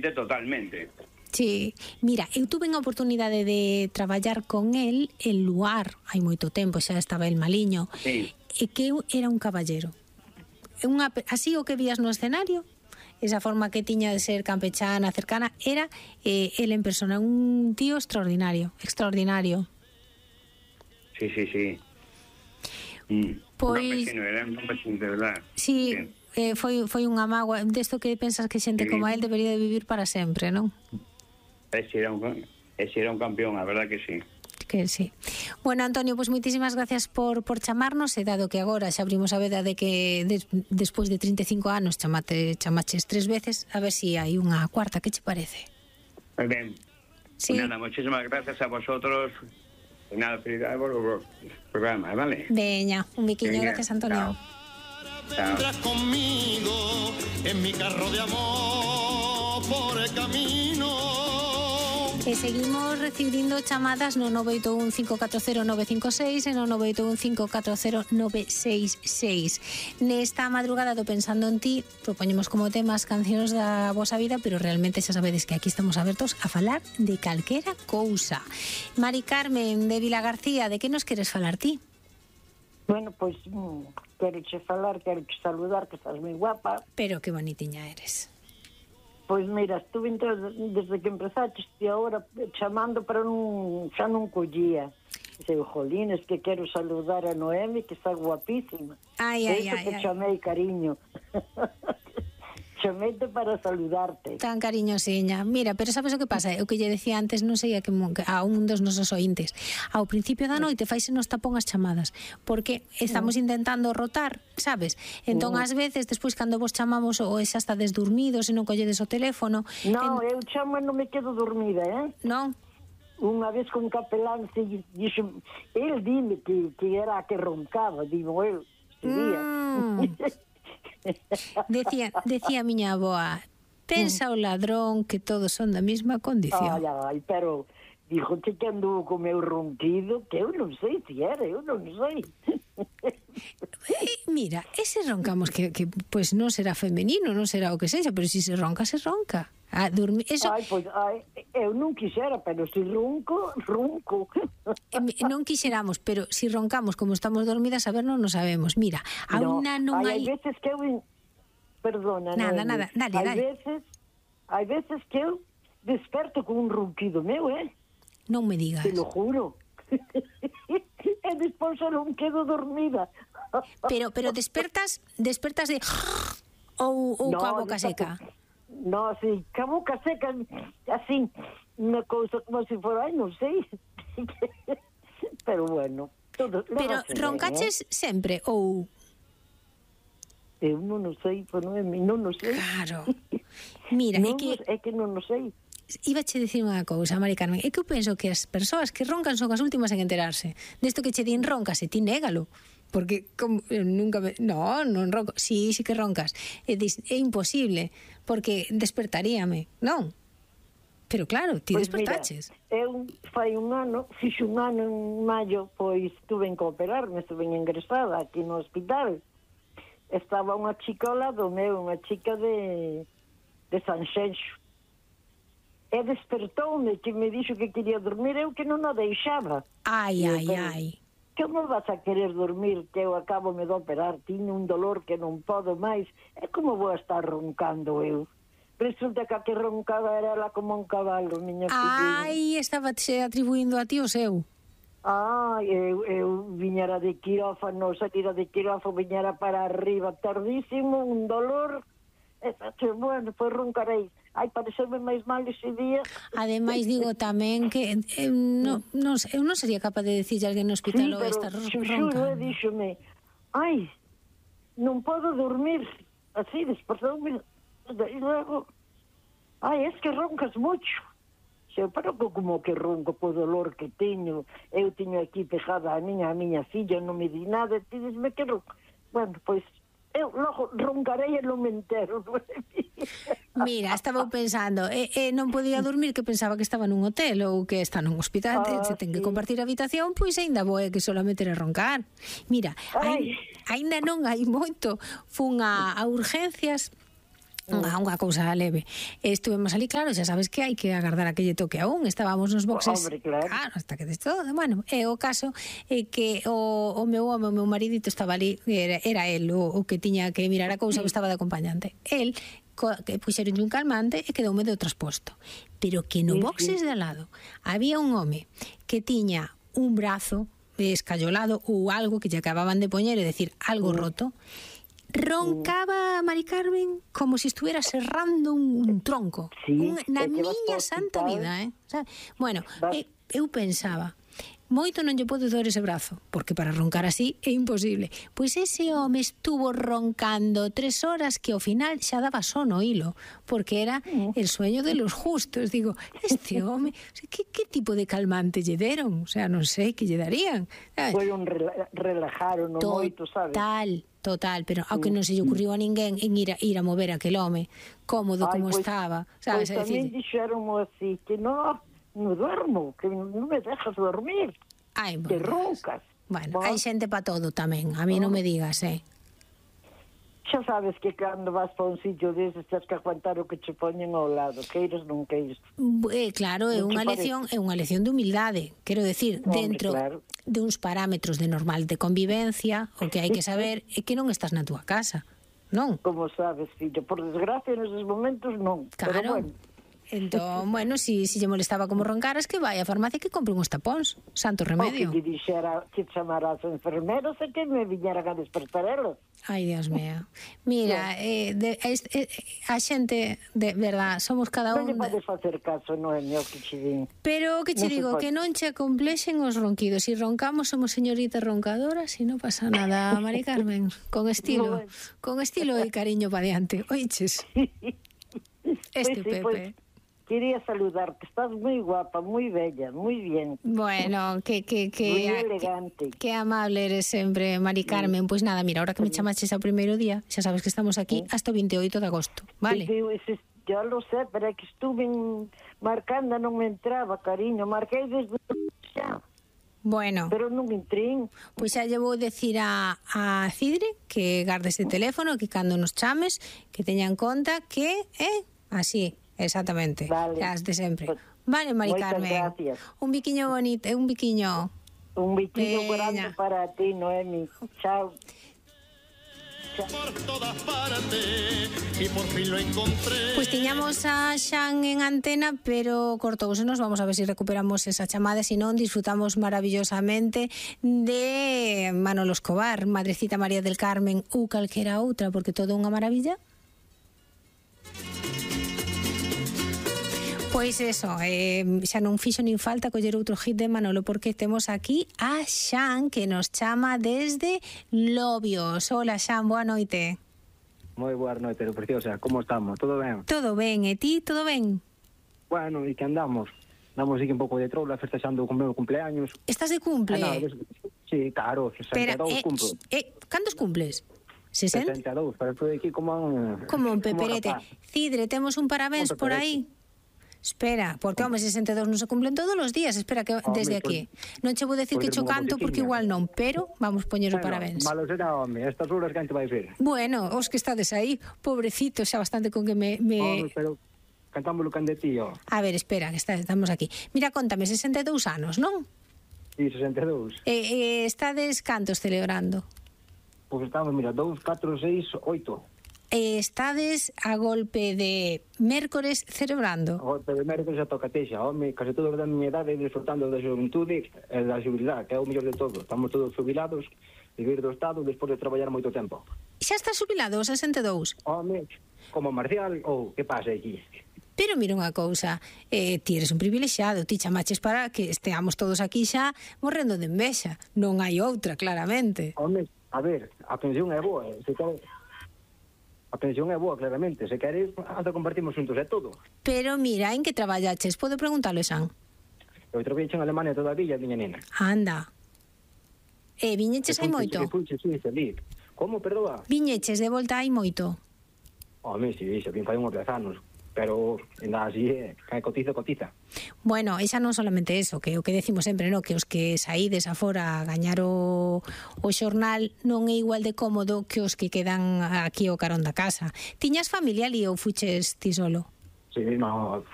totalmente. Sí, mira, eu tuve a oportunidade de traballar con el en Luar hai moito tempo, xa estaba el maliño, Sí. e que eu era un caballero. Así o que vías no escenario, esa forma que tiña de ser campechana, cercana, era el en persona, un tío extraordinario. Sí. Pois, Era un campesino, de verdad. sí, foi unha mágoa desto que pensas que xente como él debería de vivir para sempre, non? Ese era un campeón, a verdad que sí. Que sí. Bueno, Antonio, pues moitísimas gracias por chamarnos, e dado que agora xa abrimos a veda de que despois de 35 anos chamaches 3 veces, a ver si hai unha cuarta, que che parece? Muy bien. Sí. Nada, muchísimas gracias a vosotros. Y nada, felicidades por el programa, ¿vale? Veña, un biquiño, gracias, Antonio. Chao. Vendrás conmigo en mi carro de amor por el camino. E seguimos recibindo chamadas no 981 540 956 e no 981 540 966. Nesta madrugada do Pensando en Ti propoñemos como tema as cancións da vosa vida, pero realmente xa sabedes que aquí estamos abertos a falar de calquera cousa. Mari Carmen de Vila García, de que nos queres falar ti? Bueno, pois quero che falar, quero che saludar, que estás moi guapa. Pero que bonitiña eres. Pois mira, estuve desde que empezaste e agora chamando, pero xa non collía. Dice, jolines, que quero saludar a Noemi, que está guapísima. Ai. Chamei, cariño. Chameite para saludarte. Tan cariñosiña. Mira, pero sabes o que pasa? O que lle decía antes, non sei a un dos nosos ointes. Ao principio da noite faise nos tapón as chamadas, porque estamos intentando rotar, sabes? Entón, ás veces, despois, cando vos chamamos, ou xa estades dormidos e non colledes o teléfono... Non, eu chamo e non me quedo dormida, Non? Unha vez con capelán, dixo, el dime que era a que roncaba, digo eu, Decía a miña avoa, pensa o ladrón que todos son da mesma condición. Ai, pero dijo que andou co meu ronquido, que eu non sei se era, eu non sei. Mira, ese roncamos que pues non será femenino, non será o que sexa, pero si se ronca, se ronca. Eso... eu non quixera, pero si ronco. Non quixeramos, pero si roncamos como estamos dormidas, a ver, non nos sabemos. Mira, a unha non hai... Hai veces que eu... Perdona, Nada, dale. Hai veces que eu desperto con un ronquido meu, Non me digas. Te lo juro. E despois non quedo dormida. Pero despertas de... ou coa boca seca? No, así, ca boca seca, así, unha cousa como se fora, non sei. Pero bueno, todo. Pero roncaches sempre ou? Eu non sei, non sei. Claro. Mira, é que non sei. Iba che dicir unha cousa, Mari Carmen, é que eu penso que as persoas que roncan son as últimas en enterarse. Desto que che din roncas, e ti négalo. Porque nunca non ronco. Sí que roncas. É imposible, porque despertaríame, non? Pero claro, ti despertaches. Mira, eu fai fixo un ano en maio, pois estuve en cooperarme, estuve ingresada aquí no hospital. Estaba unha chica ao lado meu, unha chica de Sanxenxo. E despertoume, que me dixo que quería dormir, eu que non o deixaba. Ai. Como vas a querer dormir, que eu acabo de operar, tiño un dolor que non podo máis, e como vou a estar roncando eu? Resulta que a que roncaba era ela como un cabalo, miña filha. Ai, estaba se atribuindo a ti o seu. Eu viñera de quirófano, salira de quirófano, viñera para arriba, tardísimo, un dolor, e bueno, pois roncarei. Ai, pareceume máis mal ese día. Ademais, digo tamén que eu non sería capaz de decirle a alguén no hospital ou esta ronca. Díxome, ai, non podo dormir, así, despertoume, e logo, ai, es que roncas mucho. Pero como que ronco po dolor que teño, eu teño aquí pegada a miña filla, non me di nada, ti disme que ronco. Bueno, pois, eu logo roncarei e non me entero. Mira, estaba pensando, non podía dormir, que pensaba que estaba nun hotel ou que está nun hospital, se ten que compartir a habitación, pois ainda boe que solamente era roncar. Mira, ainda non hai moito, fun a urgencias Unha cousa leve. Estuvemos ali, claro, xa sabes que hai que agardar a que lle toque a un. Estábamos nos boxes. Hombre, claro. Hasta que des todo. Bueno, o caso é que o meu home, o meu maridito estaba ali, era el o que tiña que mirar a cousa, que estaba de acompañante. El que puxeron un calmante e quedoume de trasposto. Pero que no boxes de al lado había un home que tiña un brazo escayolado ou algo que lle acababan de poñer, é dicir, algo roto. Roncaba Mari Carmen como se estuviera serrando un tronco. Na miña santa vida, Bueno, eu pensaba, moito non lle pode doer ese brazo, porque para roncar así é imposible. Pois ese home estuvo roncando 3 horas que ao final xa daba sono hilo, porque era el sueño de los justos. Digo, este home, que tipo de calmante lle deron? O sea, non sei que lle darían. Foi un relajaron moito, sabes? Total, pero ao que non se lle ocurriu a ninguén en ir a mover aquel home, cómodo como estaba, sabes? Pois tamén dixeron así, que non duermo, que non me dejas dormir, que roncas. Bueno, hai xente para todo tamén, a mí non me digas, Xa sabes que cando vas para un sitio deses tens que aguantar o que che poñen ao lado, queiras non queiras. Claro, é unha lección de humildade, quero decir, dentro de uns parámetros de normal de convivencia, o que hai que saber é que non estás na túa casa, non? Como sabes, fillo, por desgracia neses momentos non, claro. Pero bueno. Entón, bueno, si lle molestaba como roncaras, que vai á farmacia que compre uns tapóns, santo remedio. O que lle dixera que chamara as enfermeras e que me viñeran a despertar elas. Ai, Dios mío. Mira, a xente, de verdad, somos cada un... Non lle podes facer caso, non é meu que che din. Pero o que che digo, que non che complexen os ronquidos. Si roncamos, somos señoritas roncadoras e non pasa nada, Mari Carmen. Con estilo e cariño pa diante. Oiches? Pepe. Quería saludarte, estás moi guapa, moi bella, moi bien. Bueno, que moi elegante. Que amable eres sempre, Mari Carmen. Pois nada, mira, ahora que me chamaches ao primeiro día, xa sabes que estamos aquí hasta o 28 de agosto, vale? Yo lo sé, pero é que estuve marcando, non me entraba, cariño, marquei desde xa. Bueno. Pero non entrín. Pois xa lle vou decir a Cidre que garde ese teléfono, que cando nos chames, que teña en conta que así. Exactamente, vale. Las de sempre. Vale, Mari Carmen. Gracias. Un biquiño bonito, un biquiño. Un biquiño grande para ti, Noemi. Chao. Por todas partes y por fin lo encontré. Pues tiñamos a Xan en antena, pero cortousenos. Vamos a ver si recuperamos esa chamada, si non disfrutamos maravillosamente de Manolo Escobar, Madrecita María del Carmen ou calquera outra, porque todo unha maravilla. Pois eso, xa non fixo nin falta coller outro hit de Manolo, porque temos aquí a Xan, que nos chama desde Lobios. Hola, Xan, boa noite. Moi boa noite, preciosa, como estamos? Todo ben? Todo ben, e ti, todo ben? Bueno, e que andamos? Andamos aquí un pouco de troula, festexando o meu cumpleaños. Estás de cumple? Sí, claro, 62 cumplo. Cantos cumples? 60? 62, pero estou aquí como un peperete. Cidre, temos un parabéns por aí? Espera, porque, home, 62 non se cumplen todos os días. Espera, que desde aquí. Non che vou decir que cho canto, porque igual non, pero vamos poñer os parabéns. Malo será, home, estas horas que te vai ver. Bueno, os que estades aí, pobrecito, xa bastante con que me... Home, pero cantámoslo can de tío. A ver, espera, que estamos aquí. Mira, contame, 62 anos, non? Sí, 62. Estades cantos celebrando? Pois estamos, mira, 2, 4, 6, 8. Estades a golpe de mércores celebrando? A golpe de mércores a tocatexa, home, case todos da miña idade disfrutando da xuventude e da xubilidade, que é o mellor de todo. Estamos todos jubilados, vivir do Estado despois de traballar moito tempo. Xa estás jubilado aos 62? Home, como Marcial, ou que pasa aquí? Pero mira unha cousa, ti eres un privilexiado, ti chamaches para que esteamos todos aquí xa morrendo de envexa. Non hai outra, claramente. Home, a ver, a pensión é boa, se quere... A pensión é boa, claramente. Se queres, anda compartimos juntos, é todo. Pero mira, en que traballaches? Podo preguntarlo, Xan? Eu traballei en Alemania todavía, miña nena. Anda. Viñeches hai moito? Como, perdoa? Viñeches de volta hai moito? Home, si, xa vin fai uns 10 anos. pero ainda así, que cotiza. Bueno, e xa non solamente eso, que o que decimos sempre, no? Que os que saídes afora a gañar o xornal non é igual de cómodo que os que quedan aquí ao carón da casa. Tiñas familia ali ou fuches ti solo? Sí, no,